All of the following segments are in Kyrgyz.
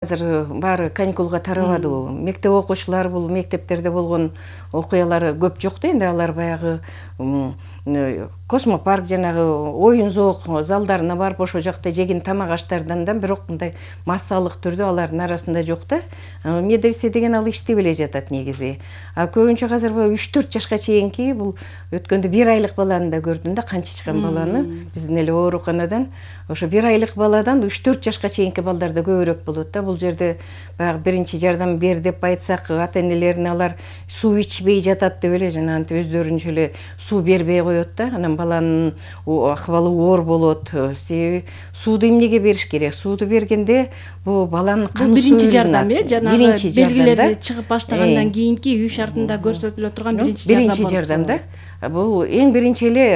Азыр баары каникулга тарабады. Мектеп окуучулар бул мектептерде болгон окуялар көп жок да, энди алар баягы космопарк жанагы оюн зоок залдарына барып ошол жакта жеген тамак аштардан да бирок мындай массалык түрдө алардын арасында жок да. Медресе деген ал иштей эле жатат негизи. Көбүнчө азыр 3-4 жашка чейинки бул өткөндө 1 айлык баланы да көрдүм да, канча баланы биздин эле ооруканадан. Ошо 1 айлык баладан 3-4 жашка чейинки балдарда көбүрөөк болот да. Бул жерде баягы биринчи жардам бер деп айтсак, ата-энелерине алар суу ичпей жатат деп эле жана антип өздөрүнчө эле суу бербей коет да. Анан баланын акыбалы оор болот. Себеби сууду эмнеге бериш керек? Сууду бергенде бул баланын кан биринчи жардам жанагы белгилери чыгып баштагандан кийинки үй шартында көрсөтүлө турган биринчи жардам да. Бул эң биринчи эле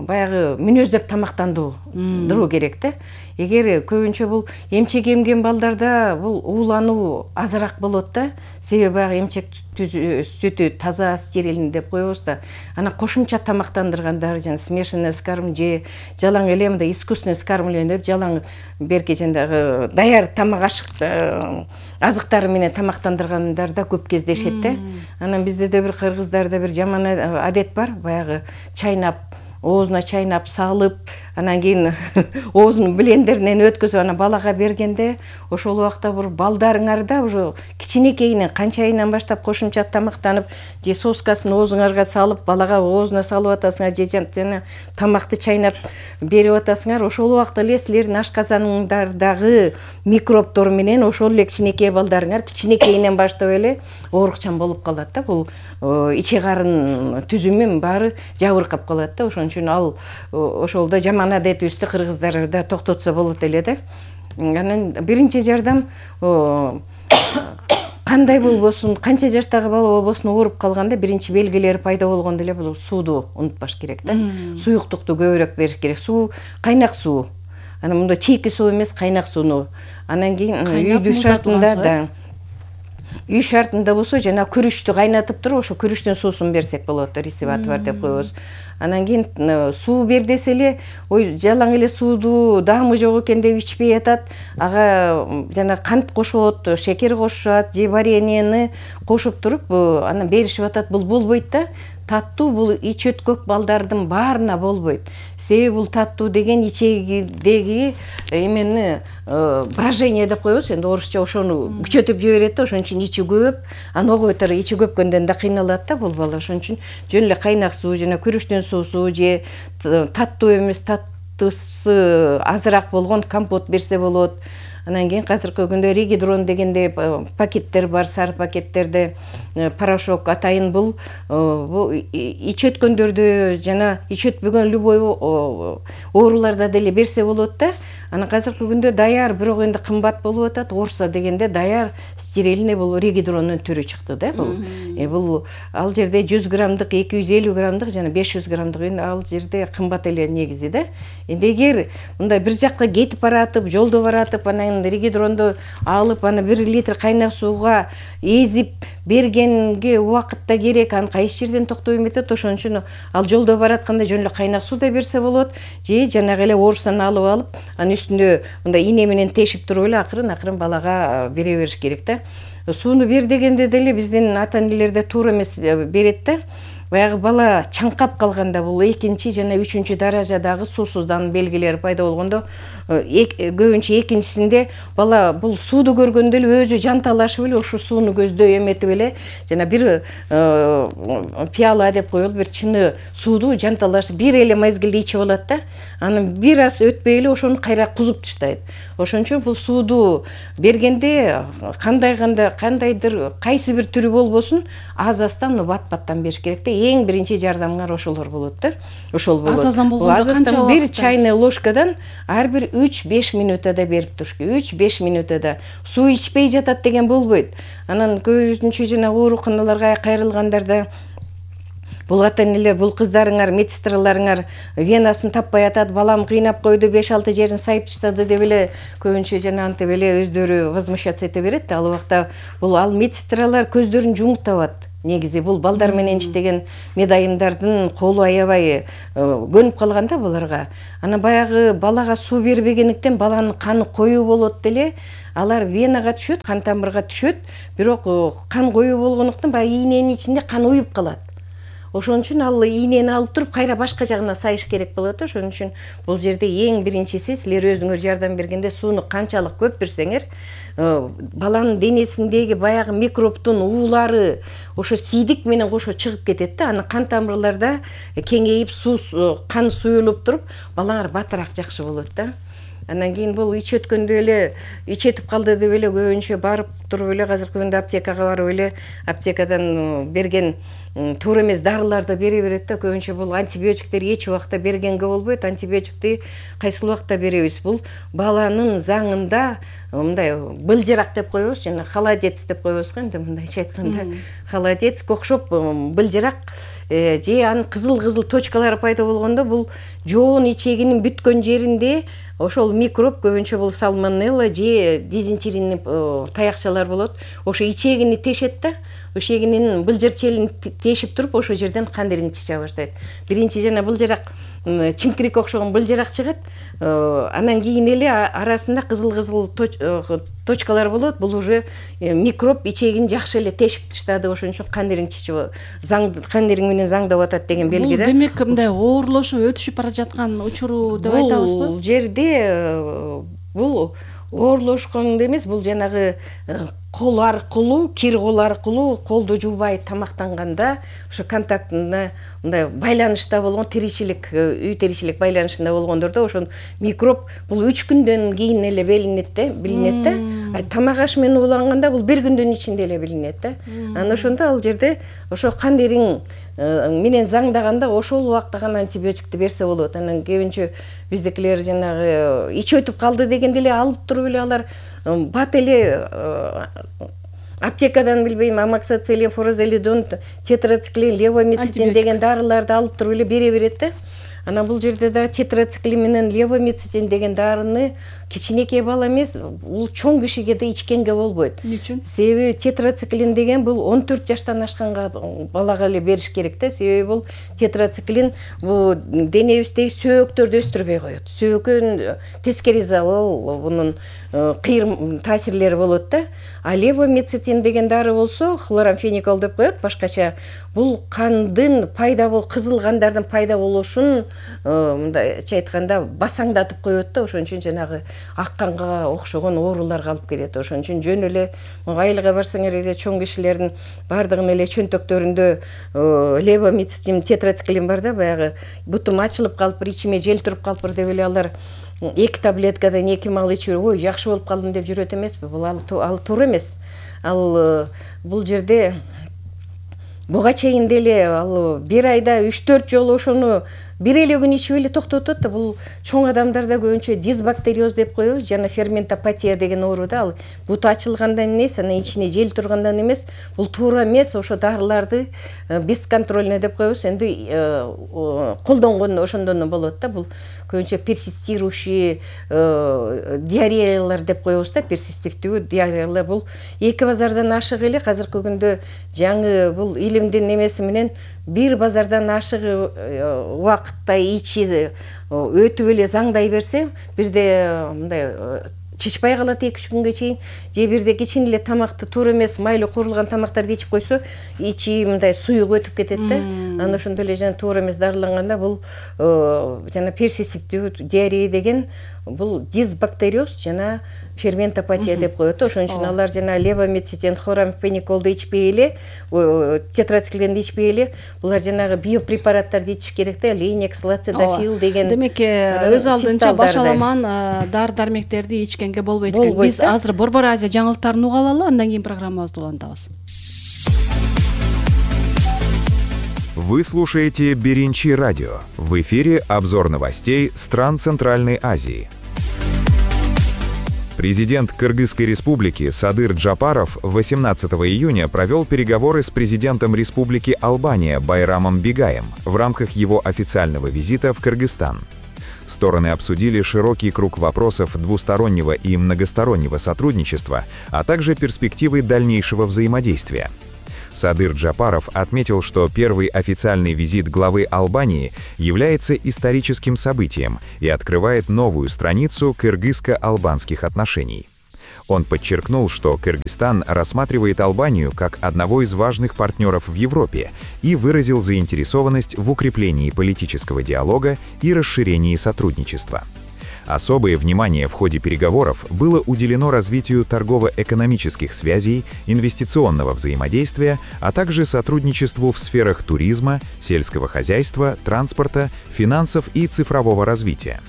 баягы мүнөздөп тамактандыруу керек да. Эгер көбүнчө бул эмчек эмген балдарда бул уулануу азыраак болот да. Себеби баягы эмчек сүтү таза, стерильный деп коебуз да. Анан кошумча тамактандыргандар, жана смешанный вскарм же жалаң эле мындай искусственный вскармливание деп жалаң берки жандагы даяр тамак азыктары менен тамактандыргандар да көп кездешет да. Анан бизде да бир кыргыздарда бир жаман адет бар, баягы чайнап, оозуна чайнап салып, анан кийин оозунун блендеринен өткөзүп анан балага бергенде ошол убакта бир балдарыңарда уже кичинекейинен канча айынан баштап кошумча тамактанып, же соскасын оозуңарга салып, балага оозуна салып атасыңар, же жана тамакты чайнап берип атасыңар, ошол убакта эле силердин ашказаныңардагы микробдор менен ошол эле кичинекей балдарыңар кичинекейинен баштап эле оорукчан болуп калат да. Бул ичи карын түзүмүн баары жабыркап калат да. Ошон үчүн ал ошолдо жаман адетибизди кыргыздар да токтотсо болот эле да. Анан биринчи жардам кандай болбосун, канча жаштагы бала болбосун ооруп калганда биринчи белгилери пайда болгондо эле бул сууду унутпаш керек да. Суюктукту көбүрөөк бериш керек. Суу, кайнак суу. Анан мындай чийки суу эмес, кайнак сууну. Анан кийин үйдүн шартында да. Үй шартында болсо жана күрүчтү кайнатып туруп, ошо күрүчтүн суусун берсек болот, ресиват бар деп коебуз. Анан кийин суу бер десе эле, ой жалаң эле сууду даамы жок экен деп ичпей атат. Ага жана кант кошот, шекер кошушат, же вареньени кошуп туруп, анан беришип атат. Бул болбойт да. Таттуу бул ич өткөк балдардын баарына болбойт. Себеби бул таттуу деген ичегидеги эмени брожение деп коебуз, энди орусча ошону күчөтүп жиберет да, ошон үчүн ичи көбөп, анан огойтор ичи көпкөндөн да кыйналат да бул бала. Ошон үчүн жөн эле кайнак суу жана күрүчтүн суусу же таттуу эмес, таттысы азыраак болгон компот берсе болот. Анан кийин азыркы күндө регидрон дегенде пакеттер бар, сары пакеттерде порошок атайын бул ич өткөндөрдө жана ич өтпөгөн любой ооруларда деле берсе болот да. Анан азыркы күндө даяр, бирок энди кымбат болуп атат. Орса дегенде даяр стерильный бул регидронун түрү чыкты да бул. Бул ал жерде 100 граммдык, 250 граммдык жана 500 граммдык ал жерде кымбат эле негизи да. Энди эгер мындай бир жакка кетип баратып, жолдо баратып, анан регидронду алып, аны 1 литр кайнак сууга эзип бергенге убакытта керек, аны кайсы жерден токтой эметет. Ошон үчүн ал жолдо баратканда жөн эле кайнак суу да берсе болот, же жанагы эле орустан алып, анын үстүндө мындай ине менен тешип туруп эле акырын балага бере бериш керек да. Сууну бер дегенде деле биздин ата-энелерде туура эмес берет да. Баягы бала чаңкап калганда бул экинчи жана үчүнчү даражадагы суусуздануу белгилери пайда болгондо, көбүнчө экинчисинде бала бул сууду көргөндө эле өзү жанталашып эле ошо сууну көздөй эметип эле жана бир пиала деп коелу, бир чыны сууду жанталашып бир эле мезгилде ичип алат да. Анан бир аз өтпөй эле ошону кайра кузуп таштайт. Ошон үчүн бул сууду бергенде кандайдыр кайсы бир түрү болбосун аз-аздан бат-баттан бериш керек да. Эң биринчи жардамыңар ошолор болот да. Ошол болот. Аз-аздан болгондо канча бир чайный ложкадан ар бир 3-5 минутада берип туруш керек. 3-5 минутада. Суу ичпей жатат деген болбойт. Анан көбүнчө жана ооруканаларга кайрылгандарда бул ата-энелер, бул кыздарыңар, медсестраларыңар венасын таппай атат, балам кыйнап койду, 5-6 жерин сайып таштады деп эле көбүнчө жана антип эле өздөрү возмущаться эте берет. Ал убакта бул медсестралар көздөрүн жумуп табат. негизи бул балдар менен иштеген медайымдардын колу аябай көнүп калган да буларга. Анан баягы балага суу бербегендиктен баланын каны коюу болот деле, алар венага түшөт, кан тамырга түшөт, бирок кан коюу болгондуктан баягы ийненин ичинде кан уюп калат. Ошон үчүн ал ийнени алып туруп кайра башка жагына сайыш керек болот. Ошон үчүн бул жерде эң биринчиси силер өзүңөр жардам бергенде сууну канчалык көп берсеңер, баланын денесиндеги баягы микробтун уулары ошо сийдик менен кошо чыгып кетет да. Анан кан тамырларда кеңейип кан суюлуп туруп, балаңар батыраак жакшы болот да. Анан кийин бул ич өткөндө эле ичетип калды деп эле көбүнчө барып туруп эле азыркы күндө аптекага барып эле аптекадан берген туура эмес дарыларды бере берет да. Көбүнчө бул антибиотиктер эч убакта бергенге болбойт. Антибиотикти кайсыл убакта беребиз? Бул баланын заңында мындай былжырак деп коебуз, жана холодец деп коебуз го, энди мындайча айтканда. Холодецке окшоп былжырак же анын кызыл точкалары пайда болгондо бул жоон ичегинин бүткөн жеринде ошол микроб, көбүнчө бул сальмонелла же дизентерийный таякчалар болот. Ошо ичегини тешет да. Ичегинин былжыр челин тешип туруп, ошол жерден кан ириң чыга баштайт. Биринчи жана былжырак чимкирикке окшогон былжырак чыгат. Анан кийин эле арасында кызыл точкалар болот. Бул уже микроб ичегин жакшы эле тешип таштады. Ошон үчүн кан ириң чыгып, кан ириң менен заңдап атат деген белги да. Бул демек мындай оорлошуп өтүшүп бара жаткан учуру деп айтабызбы? Бул жерде бул оорлошкон эмес, бул жанагы кол аркылуу, кир кол аркылуу колду жуубай тамактанганда ошо контактында мындай байланышта болгон тиричилик, үй тиричилик байланышында болгондордо ошон микроб бул 3 күндөн кийин эле билинет да. Тамак аш менен ууланганда бул 1 күндүн ичинде эле билинет да. Анан ошондо ал жерде ошо кан ириң менен заңдаганда ошол убакта гана антибиотикти берсе болот. Анан көбүнчө биздикилер жанагы ич өтүп калды дегенде эле алып туруп эле алар бат эле аптекадан билбейм амоксициллин, фурозолидон, тетрациклин, левомицетин деген дарыларды алып туруп эле бере берет да. Анан бул жерде да тетрациклин менен левомицетин деген дарыны кичинекей бала эмес, бул чоң кишиге да ичкенге болбойт. Эмне үчүн? Себеби тетрациклин деген бул 14 жаштан ашканга балага эле бериш керек да. Себеби бул тетрациклин бул денебиздеги сөөктөрдү өстүрбөй коет. Сөөккөн тескери залал бунун кыйыр таасирлери болот да. А левомицетин деген дары болсо хлорамфеникол деп коет башкача. Бул кандын кызыл кандардын пайда болушун мындайча айтканда басаңдатып коет да. Ошон үчүн жанагы ак канга окшогон ооруларга алып келет. Ошон үчүн жөн эле айылга барсаңар эле чоң кишилердин бардыгынын эле чөнтөктөрүндө левомицетин, тетрациклин бар да, баягы бутум ачылып калыптыр, ичиме жел туруп калыптыр деп эле алар 2 таблеткадан 2 мал ичип, ой, жакшы болуп калдым деп жүрөт эмеспи? Бул ал туура эмес. Ал бул жерде буга чейин деле ал 1 айда 3-4 жолу ошону бир эле күн ичип эле токтотот да. Бул чоң адамдарда көбүнчө дисбактериоз деп коебуз, жана ферментопатия деген оору да. Ал буту ачылгандан эмес, анан ичине жел тургандан эмес, бул туура эмес. Ошо дарыларды бесконтрольно деп коебуз. Энди колдонгон ошондон болот да. Бул көбүнчө персистирующий диареялар деп коебуз да. Персистивдүү диареялар бул 2 базардан ашык эле азыркы күндө жаңы бул илимдин немеси менен 1 базардан ашык убакытта ичи өтүп эле заңдай берсе, бирде мындай чычпай калат 2-3 күнгө чейин, же бирде кичине эле тамакты туура эмес майлуу куурулган тамактарды ичип койсо, ичи мындай суюк өтүп кетет да. Анан ошондо эле жана туура эмес дарыланганда бул жана персистивдүү диарея деген бул дисбактериоз жана ферментопатия деп коет. Ошон үчүн алар жана левомицетин, хлорамфениколду ичпей эле, тетрациклинди ичпей эле, булар жанагы биопрепараттарды ичиш керек да, ленекс, лацидофил деген. Демек өз алдынча башаламан дары-дармектерди ичкенге болбойт экен. Биз азыр Борбор Азия жаңылыктарын уга алалы, андан кийин программабызды улантабыз. Вы слушаете Беринчи радио. В эфире обзор новостей стран Центральной Азии. Президент Кыргызской республики Садыр Джапаров 18 июня провел переговоры с президентом Республики Албания Байрамом Бигаем в рамках его официального визита в Кыргызстан. Стороны обсудили широкий круг вопросов двустороннего и многостороннего сотрудничества, а также перспективы дальнейшего взаимодействия. Садыр Джапаров отметил, что первый официальный визит главы Албании является историческим событием и открывает новую страницу кыргызско-албанских отношений. Он подчеркнул, что Кыргызстан рассматривает Албанию как одного из важных партнеров в Европе и выразил заинтересованность в укреплении политического диалога и расширении сотрудничества. Особое внимание в ходе переговоров было уделено развитию торгово-экономических связей, инвестиционного взаимодействия, а также сотрудничеству в сферах туризма, сельского хозяйства, транспорта, финансов и цифрового развития.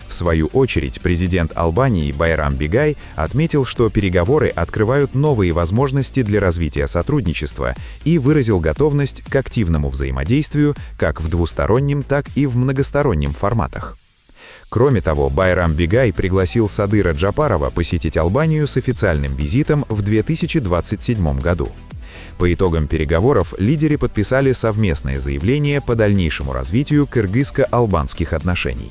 В свою очередь, президент Албании Байрам Бигай отметил, что переговоры открывают новые возможности для развития сотрудничества и выразил готовность к активному взаимодействию как в двустороннем, так и в многостороннем форматах. Кроме того, Байрам Бигай пригласил Садыра Джапарова посетить Албанию с официальным визитом в 2027 году. По итогам переговоров лидеры подписали совместное заявление по дальнейшему развитию кыргызско-албанских отношений.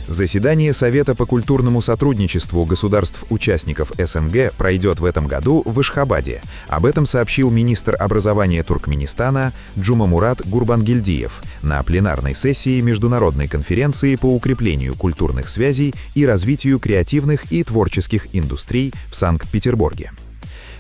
Заседание Совета по культурному сотрудничеству государств-участников СНГ пройдет в этом году в Ашхабаде. Об этом сообщил министр образования Туркменистана Джумамурат Гурбангельдиев на пленарной сессии Международной конференции по укреплению культурных связей и развитию креативных и творческих индустрий в Санкт-Петербурге.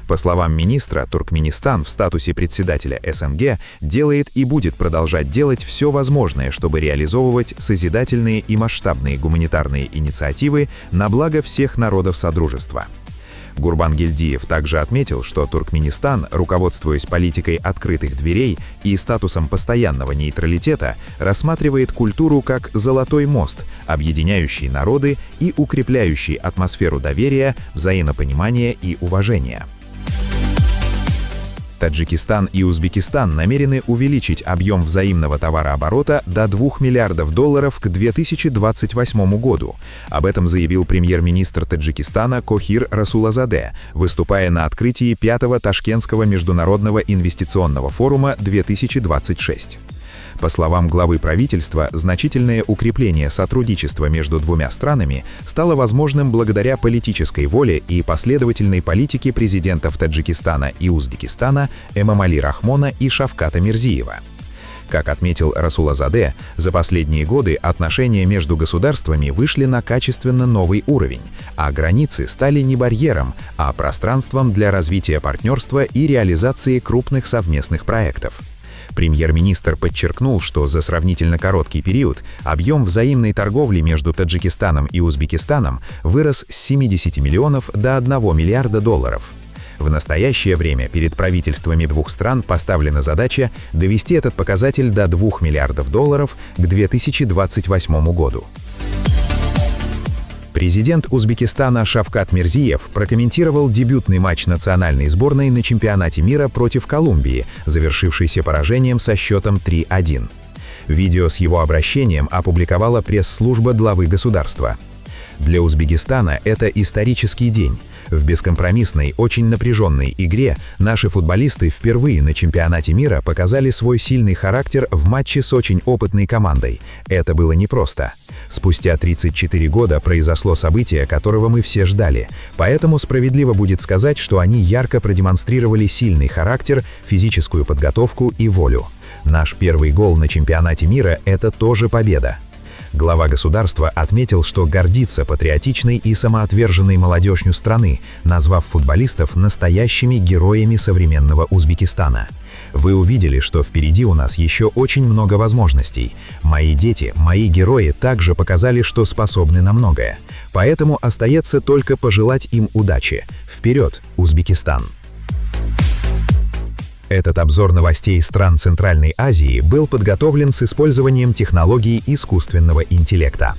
По словам министра, Туркменистан в статусе председателя СНГ делает и будет продолжать делать все возможное, чтобы реализовывать созидательные и масштабные гуманитарные инициативы на благо всех народов Содружества. Гурбангельдиев также отметил, что Туркменистан, руководствуясь политикой открытых дверей и статусом постоянного нейтралитета, рассматривает культуру как золотой мост, объединяющий народы и укрепляющий атмосферу доверия, взаимопонимания и уважения. Таджикистан и Узбекистан намерены увеличить объем взаимного товарооборота до $2 миллиардов к 2028 году. Об этом заявил премьер-министр Таджикистана Кохир Расулазаде, выступая на открытии 5-го Ташкентского международного инвестиционного форума 2026. По словам главы правительства, значительное укрепление сотрудничества между двумя странами стало возможным благодаря политической воле и последовательной политике президентов Таджикистана и Узбекистана Эмомали Рахмона и Шавката Мирзиева. Как отметил Расулазаде, за последние годы отношения между государствами вышли на качественно новый уровень, а границы стали не барьером, а пространством для развития партнерства и реализации крупных совместных проектов. Премьер-министр подчеркнул, что за сравнительно короткий период объем взаимной торговли между Таджикистаном и Узбекистаном вырос с 70 миллионов до $1 миллиарда. В настоящее время перед правительствами двух стран поставлена задача довести этот показатель до $2 миллиардов к 2028 году. Президент Узбекистана Шавкат Мирзиев прокомментировал дебютный матч национальной сборной на чемпионате мира против Колумбии, завершившийся поражением со счетом 3-1. Видео с его обращением опубликовала пресс-служба главы государства. Для Узбекистана это исторический день. В бескомпромиссной, очень напряженной игре наши футболисты впервые на чемпионате мира показали свой сильный характер в матче с очень опытной командой. Это было непросто. Спустя 34 года произошло событие, которого мы все ждали, поэтому справедливо будет сказать, что они ярко продемонстрировали сильный характер, физическую подготовку и волю. Наш первый гол на чемпионате мира – это тоже победа. Глава государства отметил, что гордится патриотичной и самоотверженной молодежью страны, назвав футболистов настоящими героями современного Узбекистана. Вы увидели, что впереди у нас еще очень много возможностей. Мои дети, мои герои также показали, что способны на многое. Поэтому остается только пожелать им удачи. Вперед, Узбекистан! Этот обзор новостей стран Центральной Азии был подготовлен с использованием технологий искусственного интеллекта.